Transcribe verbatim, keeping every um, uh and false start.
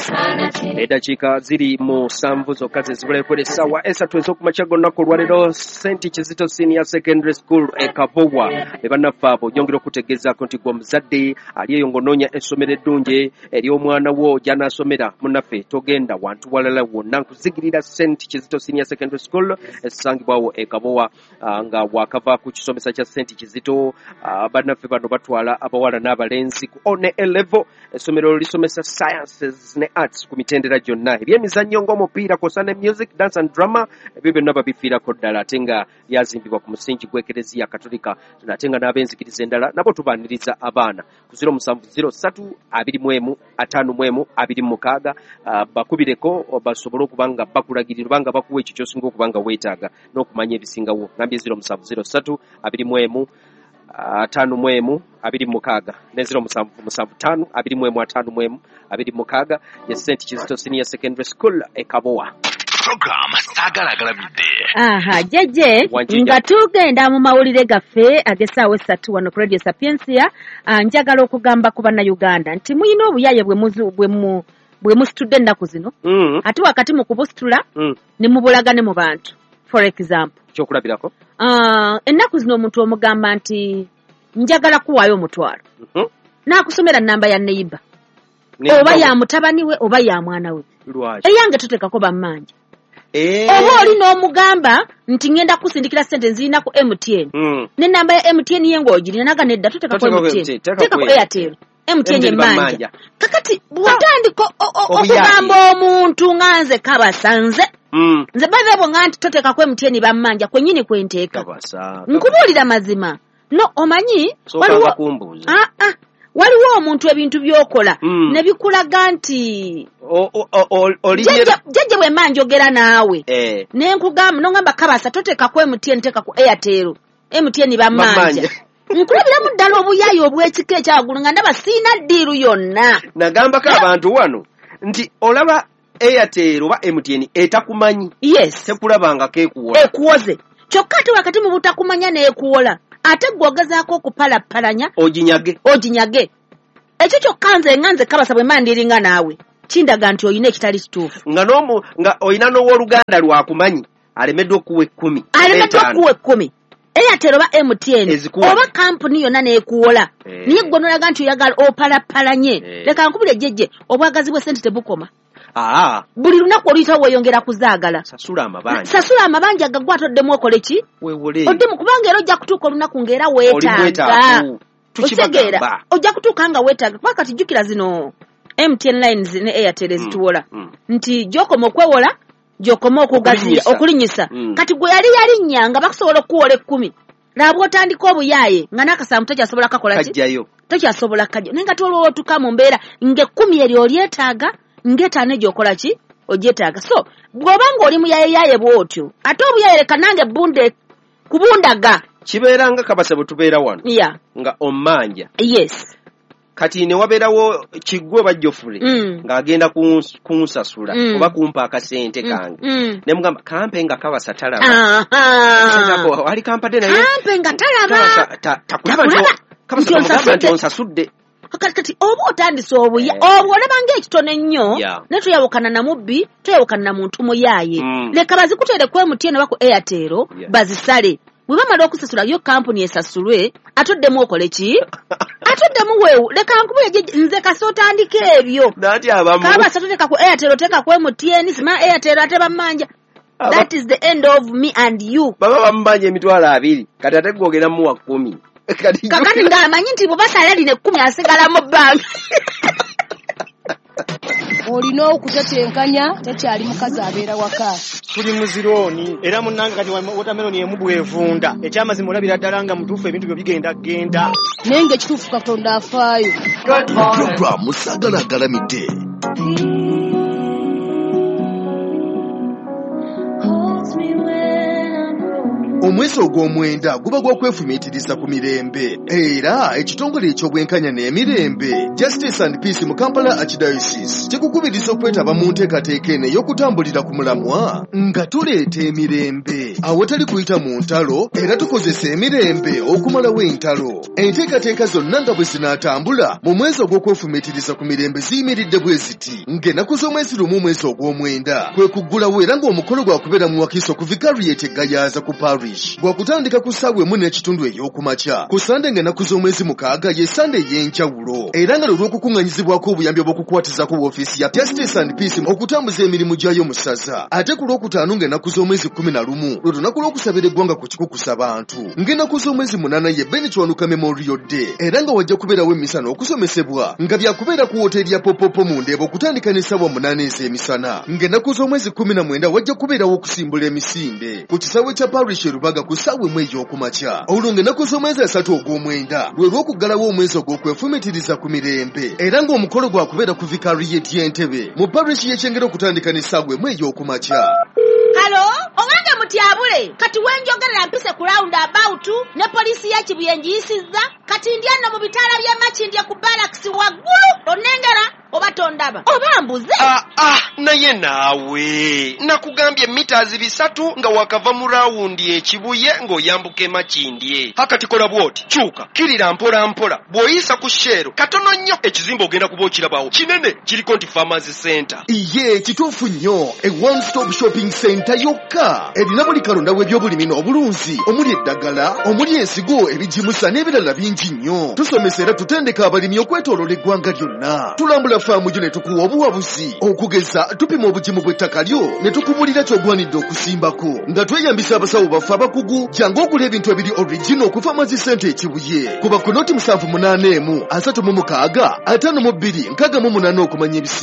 Eddakiika ziri musanvu zokka ze zibulako essaawa esatu ez'okumakya g'olunaku olwaleero. Saint Kizito Senior Secondary School e Kabowa be bannaffe abo. Nyongera okutegeezaako nti gwe omuzadde ali eyo ng'onoonya essomero eddungi ery'omwana wo gy'anaasomera, munnaffe togenda wantu walala wonna, nkuzigirira Saint Kizito Senior Secondary School esangibwawo e Kabowa, ah, nga wakava ku kisomesa kya Saint Kizito. ah, bannaffe bano batwala abawala n'abalenzi ku O ne A level. Essomero lisomesa sciences ne arts ku mitendera gyonna, ebyemizannyo ng'omupiira kw'ossa ne music, dance and drama, ebyo byonna babifiirako ddala, ate nga lyazimbibwa ku musingi gw'Ekereziya Katolika, ate nga n'ab'enzikiriza endala nabo tubaaniriza abaana ku zero musanvu zero ssatu abiri mu emu ataano mu emu abiri mu mukaaga. ah, bakubireko basobole okuba nga bakulagirira oba nga bakuwa ekyo ky'osinga okuba nga weetaaga n'okumanya ebisingawo. Ngambye zero musanvu zero ssatu abiri mu emu ataano mu emu abiri mu mukaaga ne zero musanvu musanvu ttaano abiri mu emu ataano mu emu abiri mu mukaaga, ye Saint Kizito Senior Secondary School e Kabowa. Program Saagala Agalamidde. Aha, jeje. Wanjija. Nga tugenda mu mawulire gaffe ag'essaawa esatu wano ku Radio Sapientia, ah, njagala okugamba ku Bannayuganda nti muyina obuyaye bwe muzu- bwe mu- bwe musitudde ennaku zino, Mm, ate wakati mu kubusitula mm. ne mubulaga ne mu bantu. For example, Kyokulabirako? ah, ennaku zino omuntu omugamba nti njagala kuwaayo omutwalo, Mhm. n'akusomera namba ya neighbour Ne- oba ya mutabani we oba ya mwana we. Lwaki? Eyange toteekako bammanja. Eh. Oba oli n'omugamba nti ngenda kusindikira sente nzirina ku M T N Mm. n'enamba ya M T N ye ng'ogirina, naga nedda, toteekako Toteekako M T N, M T N, teekako teekako Airtel. Airtel, M T N M T N emmanja. Bammanja. Kakati bw'otandika o- o- Obuyaaye. okugamba omuntu nga nze kabasa, nze Mm. nze bave nga nti toteekako M T N bammanja, kwennyini kwenteeka. Kabasa. Nkubuulira mazima, no omanyi Sookanga waliwo kumbuuza. Ah, ah. Waliwo omuntu ebintu by'okola Mm. ne bikulaga nti O- o- o- o- olinye Jjajja, jjajja, bwe mba njogera naawe Eh. ne nkugamba nongamba kabasa toteekako M T N, teeka ku Airtel, M T N bammanja. Bammanja. Nkulabiramu ddala obuyaayi obw'ekika ekyawaggulu nga ndaba siina ddiiru yonna. Nagambako abantu wano nti olaba Airtel oba M T N etakumanyi, yes tekulabangako ekuwola. Ekuwoze kyokka, ate wakati mu butakumanya n'ekuwola, ate gwe ogezaako okupalapalanya oginyage. Oginyage. Ekyo kyokka nze nga nze kabasa bwe mba ndiringa naawe kindaga nti olina ekitali kituufu. Nga n'omu nga olina n'owooluganda lwakumanyi alemeddwa okuwa ekkumi, alemeddwa etaano. Okuwa ekkumi, Airtel oba M T N Ezikuwa. Oba kampuni yonna n'ekuwola, Eh. naye gwe nolaga nti oyagala opalapalanye. Eh. Leka nkubule jjejje, obwagazi bw'essente tebukoma. Aa. Buli lunaku oluyitawo weeyongera kuzaagala. Sasula amabanja. Sasula amabanja gagwe atoddemu okole ki? Weewole. Oddemu, kubanga era ojja kutuuka olunaku ng'era Oli weetaaga. mwetaavu. Okitegeera? Tukibagamba. Ojja kutuuka nga weetaaga, kuba kati jjukira zino M T N lines ne Airtel ezituwola mm. nti gy'okoma okwewola gy'okoma okugaziya. Okulinnyisa. Okulinnyisa. Mm. Kati gwe yali yalinnya nga bakusobola okukuwola ekkumi, laba bw'otandika obuyaaye nga n'akasanvu tokyasobola kakola ki? Kajjayo. Tokyasobola kajja, naye nga tolwola otuuka mu mbeera ng'ekkumi eryo olyetaaga, ng'etaano egyo okola ki? Ogyetaaga. So bw'oba ng'oli muyayeyaye bw'otyo, ate obuyaye leka nange bunde kubundaga. Kibeera nga kabasa bwe tubeera wano ya nga ommanja, yes kati ne wabeerawo Kiggwe oba Jofule Mm. ng'agenda kuns- kunsasula Mm. oba kumpa akasente Mm, kange, mm. ne mugamba kampe nga kabasa talaba. Aha. Ali kampadde naye kampe nga talaba. Kabasa ta- takulaba nti Takulaba. kabasa Nti tamugamba nti onsasudde. onsasudde. Kati kati oba otandise obuya Eh. obwo olaba ng'ekitono ennyo, Yeah. naye toyawukana na mubbi, toyawukana na muntu muyaaye. Mm. Leka bazikuteere ku M T N oba ku Airtel, Yeah. bazisale. Bwe bamala okusasula yo kampuni esasulwe, ate oddemu okole ki? Ate oddemu weewu. Leka nkubule jjajja, nze kasi otandika ebyo. Naati abamu Kabasa toteeka ku Airtel, oteeka ku M T N, sima Airtel ate bammanja. Aba- That is the end of me and you. Baba bamubanja emitwalo abiri, kati ate gwe ogenda muwa kkumi. Kati Kakati ng'amanyi nti bwe basala lino ekkumi asigala mu bbanga. Olina okutetenkanya, tekyali mukazi abeera waka. Tuli mu zirooni era munnange kati watermelon emu bwevunda, ekyamazima olabira ddala nga mutuufu ebintu byo bigenda genda. Naye ng'ekituufu Katonda afaayo. Program Saagala Agalamidde. Omwezi ogw'omwenda guba gwa kwefumiitiriza ku mirembe, era ekitongole eky'obwenkanya n'emirembe Justice and Peace mu Kampala Archdiocese kikukubiriza okwetaba mu nteekateeka eno ey'okutambulira ku mulamwa nga tuleeta emirembe awatali kuyita mu ntalo, era tukozesa emirembe okumalawo entalo. Enteekateeka zonna nga bwe zinaatambula mu mwezi ogw'okwefumiitiriza ku mirembe ziyimiridde bwe ziti: ng'ennaku z'omwezi lumu omwezi ogw'omwenda kwe kuggulawo, era ng'omukolo gwakubeera mu Wakiso ku Vicariate Gayaza ku Parish, gwakutandika ku ssaawa emu n'ekitundu ey'okumakya. Ku Sande ng'ennaku z'omwezi mukaaga ye Sande ey'enjawulo, era nga lwe lw'okukuŋŋanyizibwako obuyambi obw'okukwatizako woofiisi ya Justice and Peace okutambuza emirimu gyayo mu ssaza. Ate ku Lwokutaano ng'ennaku z'omwezi kkumi na lumu lwe lunaku lw'okusabira eggwanga ku kikukusa bantu. Ng'ennaku z'omwezi munaana ye Ben Kiwanuka Memorial Day, era nga wajja kubeerawo emmisa n'okusomesebwa nga byakubeera ku woteeri ya Popopo mu Ndeeba okutandika n'essaawa munaana ez'emisana. Ng'ennaku z'omwezi kkumi na mwenda wajja kubeerawo okusimbula emisinde ku kisaawe kya Parish e Rubaga ku ssaawa emu ey'okumakya. Olwo ng'ennaku z'omwezi asatu ogw'omwenda lwe lw'okuggalawo omwezi ogw'okwefumiitiriza ku mirembe, era ng'omukolo gwakubeera ku Vicariate y'Entebe mu Parish y'e Kyengera okutandika n'essaawa emu ey'okumakya. Halo, owange mutyabule, kati wenjogerera mpise ku round about ne poliisi ya Kibuye ngiyisizza, kati ndi eno mu bitaala by'e Makindye ku barracks waggulu, onnengera oba tondaba oba mbuze? Ah, ah, naye naawe nakugambye mitazi bisatu nga wakava mu rawundi ekibuye ng'oyambuka e Makindye. Hakati kola bw'oti, kyuka kirira mpola mpola, bw'oyisa ku Shell katono nnyo ekizimbe ogenda kuba okirabawo kinene, kiriko nti Farmers Center. Iye kituufu nnyo, e one stop shopping center yokka erina buli kalonda w'ebyobulimi n'obulunzi, omuli eddagala, omuli ensigo, ebigimusa n'ebirala bingi nnyo. Tusomesa era tutendeka abalimi okwetooloola eggwanga lyonna. Tulambula faamu yo ne tukuwa obuwabuzi, okugeza tupima obugimu bw'ettaka lyo ne tukubulira ky'ogwanidde okusimbako nga tweyambisa abasawo baffe abakugu. Jangu ogula ebintu ebiri original ku Farmers Center e Kibuye. Kuba ku noti musanvu munaana emu asatu mu mukaaga ataano mu bbiri nkaaga mu munaana okumanya ebisinga.